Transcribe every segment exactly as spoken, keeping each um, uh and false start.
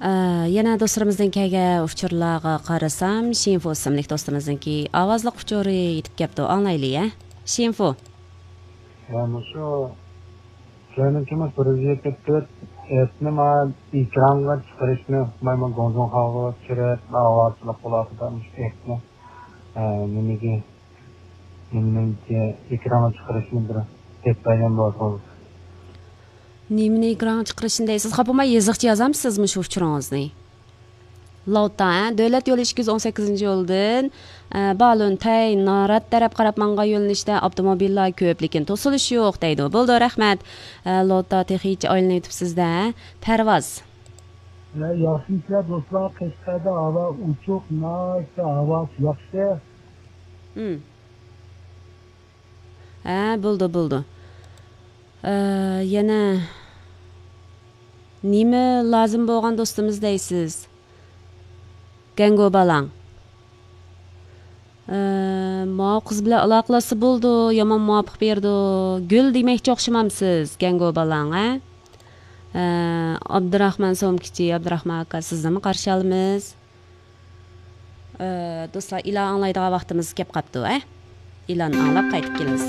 ئە، يەنە دوستلىرىمىزدىن كەلگەن ئۇچۇرلارغا قارىسام، شىنفۇ ئىسىملىك دوستىمىزنىڭكى ئاۋازلىق ئۇچۇرى يېتىپ كەپتۇ، ئاڭلايلى، ھە؟ شىنفۇ. ھە، مۇشۇ سىلەرنىڭكى مۇشۇ بىر يۈز يەتمىش تۆت ئېپنى مانا ئېكرانغا چىقىرىشنى، مانا گۇڭجۇڭخاغا چۈشۈرۈپ، ئاۋازلىق بولاتىدۇ مۇشۇ ئېپنى. ھە، نېمىگە، نېمىنىڭكى ئېكرانغا چىقىرىشنى بىر دەپ بەرگەن بولسىڭىز. نېمىنى ئېكرانغا چىقىرىشنى دەيسىز؟ خاپا بولماي يېزىقچە يازامسىز مۇشۇ ئۇچۇرىڭىزنى؟ لوتا، ھە؟ دۆلەت يولى ئىككى يۈز ئون سەككىزىنچى يولدىن، ئە، بالۇنتەي، نارات تەرەپ قاراپ ماڭغان يۆنىلىشتە ئاپتوموبىللار كۆپ، لېكىن توسۇلۇش يوق دەيدۇ. بولىدۇ، رەھمەت. ئە، لوتا تېخىچە ئايلىنىۋېتىپسىز-دە. پەرۋاز. ياخشىمۇسىلەر دوستلار؟ قەشقەردە ھاۋا ئوچۇق، ناھايىتى ھاۋاسى ياخشى. ھە، بولدى، بولدى. ئە، يەنە نېمە لازىم بولغان دوستىمىز دەيسىز؟ گەنگو بالاڭ. ئە، ماۋۇ قىز بىلەن ئالاقىلاشسا بولىدۇ، يامان مۇۋاپىق بېرىدۇ. گۈل دېمەكچى ئوخشىمامسىز، گەنگو بالاڭ، ھە؟ ئە، ئابدۇراخمان سومكىچى، ئابدۇراخمان ئاكا، سىزنىمۇ قارشى ئالىمىز. ئە، دوستلار، ئېلان ئاڭلايدىغان ۋاقتىمىز كەپ قاپتۇ، ھە؟ ئېلان ئاڭلاپ قايتىپ كېلىمىز.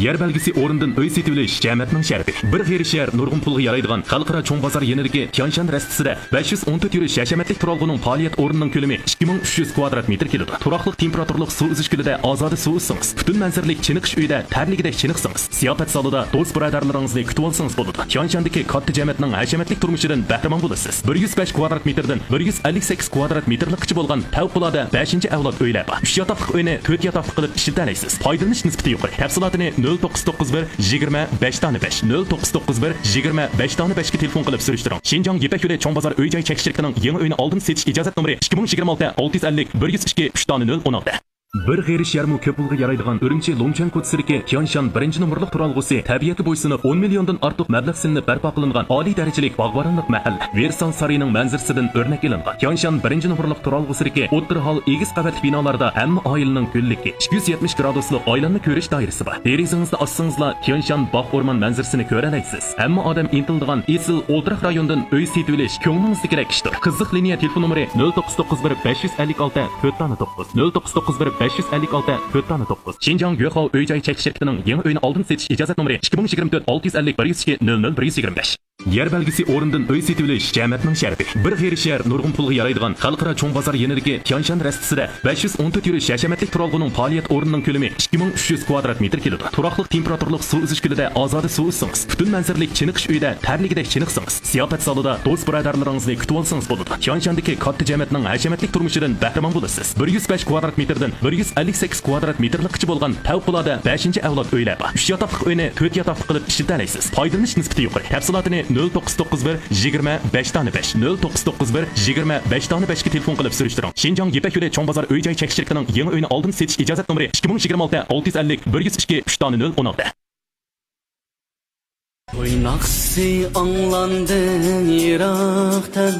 يەر بەلگىسى ئورنىدىن ئۆي سېتىۋېلىش جەمەتنىڭ شەرىپى. بىر غېرىب شەھەر نۇرغۇن پۇلغا يارايدىغان خەلقئارا چوڭ بازار يېنىدىكى تيانشان رەستىسىدە بەش يۈز ئون تۆت يۈرۈش ھەشەمەتلىك تۇرالغۇنىڭ پائالىيەت ئورنىنىڭ كۆلىمى ئىككى مىڭ ئۈچ يۈز كۋادرات مېتىر كېلىدۇ. تۇراقلىق تېمپېراتۇرىلىق سۇ ئۈزۈش كۆلىدە ئازادە سۇ ئۈزسىڭىز، پۈتۈن مەنزىرىلىك چېنىقىش ئۆيىدە تەرلىگۈدەك چېنىقسىڭىز، زىياپەت زالىدا دوست-بۇرادەرلىرىڭىزنى كۈتۈۋالسىڭىز بولىدۇ. تيانشاندىكى كاتتا جەمەتنىڭ ھەشەمەتلىك تۇرمۇشىدىن بەھرىمەن بولىسىز. بىر يۈز بەش كۋادرات مېتىردىن بىر يۈز ئەللىك سەككىز كۋادرات مېتىرلىققىچە بولغان پەۋقۇلئاددە بەشىنچى ئەۋلاد ئۆيلەر بار. ئۈچ ياتاقلىق ئۆينى تۆت ياتاقلىق قىلىپ ئىشلىتەلەيسىز. پايدىلىنىش نىسبىتى يۇقىرى. تەپسىلاتىنى نۆل توققۇز توققۇز بىر، يىگىرمە، بەش دانە بەش، نۆل توققۇز توققۇز بىر، يىگىرمە، بەش دانە بەشكە تېلېفون قىلىپ سۈرۈشتۈرۈڭ. شىنجاڭ يىپەك يولى چوڭ بازار ئۆي جاي چەك شىركىتىنىڭ يېڭى ئۆينى ئالدىن سېتىش ئىجازەت نومۇرى ئىككى مىڭ يىگىرمە ئالتە، ئالتە يۈز ئەللىك، بىر يۈز ئىككى، ئۈچ دانە نۆل ئون ئالتە. بىر غېرىب شەھەرمۇ كۆپ پۇلغا يارايدىغان ئۈرۈمچى لۇڭچۈەن كوچىسىدىكى تيانشان بىرىنچى نومۇرلۇق تۇرالغۇسى تەبىئەتكە بويسۇنۇپ، ئون مىليوندىن ئارتۇق مەبلەغ سېلىنىپ بەرپا قىلىنغان ئالىي دەرىجىلىك باغۋەنلىك مەھەللە. ۋېرسال سارىيىنىڭ مەنزىرىسىدىن ئۆرنەك ئېلىنغان تيانشان بىرىنچى نومۇرلۇق تۇرالغۇسىدىكى ئوتتۇرا ھال ئېگىز قەۋەتلىك بىنالاردا ھەممە ئائىلىنىڭ گۈللۈكى، ئىككى يۈز يەتمىش گرادۇسلۇق ئايلانما كۆرۈش دائىرىسى بار. دېرىزىڭىزنى ئاچسىڭىزلا تيانشان باغ ئورمان مەنزىرىسىنى كۆرەلەيسىز. ھەممە ئادەم ئىنتىلىدىغان ئېسىل ئولتۇراق رايوندىن ئۆي سېتىۋېلىش كۆڭلىڭىزدىكىدەك ئىشتۇر. قىزىق لىنىيە تېلېفون نومۇرى نۆل توققۇز توققۇز بىر، بەش يۈز ئەللىك ئالتە، تۆت دانە توققۇز، نۆل توققۇز توققۇز بىر، بەش يۈز ئەللىك ئالتە، تۆت دانە توققۇز. شىنجاڭ يۆخاۋ ئۆي جاي چەك شىركىتىنىڭ يېڭى ئۆينى ئالدىن سېتىش ئىجازەت نومۇرى ئىككى مىڭ يىگىرمە تۆت، ئالتە يۈز ئەللىك، بىر يۈز ئىككى، نۆل نۆل، بىر يۈز يىگىرمە بەش. يەر بەلگىسى ئورنىدىن ئۆي سېتىۋېلىش جەمەتنىڭ شەرىپى. بىر غېرىب شەھەر نۇرغۇن پۇلغا يارايدىغان خەلقئارا چوڭ بازار يېنىدىكى تيانشان رەستىسىدە بەش يۈز ئون تۆت يۈرۈش ھەشەمەتلىك تۇرالغۇنىڭ پائالىيەت ئورنىنىڭ كۆلىمى ئىككى مىڭ ئۈچ يۈز كۋادرات مېتىر كېلىدۇ. تۇراقلىق تېمپېراتۇرىلىق سۇ ئۈزۈش كۆلىدە ئازادە سۇ ئۈزسىڭىز، پۈتۈن مەنزىرىلىك چېنىقىش ئۆيىدە تەرلىگۈدەك چېنىقسىڭىز، زىياپەت زالىدا دوست-بۇرادەرلىرىڭىزنى كۈتۈۋالسىڭىز بولىدۇ. تيانشاندىكى كاتتا جەمەتنىڭ ھەشەمەتلىك تۇرمۇشىدىن بەھرىمەن بولىسىز. بىر يۈز بەش كۋادرات مېتىردىن بىر يۈز ئەللىك سەككىز كۋادرات مېتىرلىققىچە بولغان پەۋقۇلئاددە بەشىنچى ئەۋلاد ئۆيلەر بار. ئۈچ ياتاقلىق ئۆينى تۆت ياتاقلىق قىلىپ ئىشلىتەلەيسىز. پايدىلىنىش نىسبىتى يۇقىرى. تەپسىلاتىنى نۆل توققۇز توققۇز بىر، يىگىرمە، بەش دانە بەش، نۆل توققۇز توققۇز بىر، يىگىرمە، بەش دانە بەشكە تېلېفون قىلىپ سۈرۈشتۈرۈڭ. شىنجاڭ يىپەك يولى چوڭ بازار ئۆي جاي چەك شىركىتىنىڭ يېڭى ئۆينى ئالدىن سېتىش ئىجازەت نومۇرى ئىككى مىڭ يىگىرمە ئالتە، ئالتە يۈز ئەللىك، بىر يۈز ئىككى، ئۈچ دانە نۆل ئون ئالتە. ئويناقسى ئاڭلاندى يىراقتىن.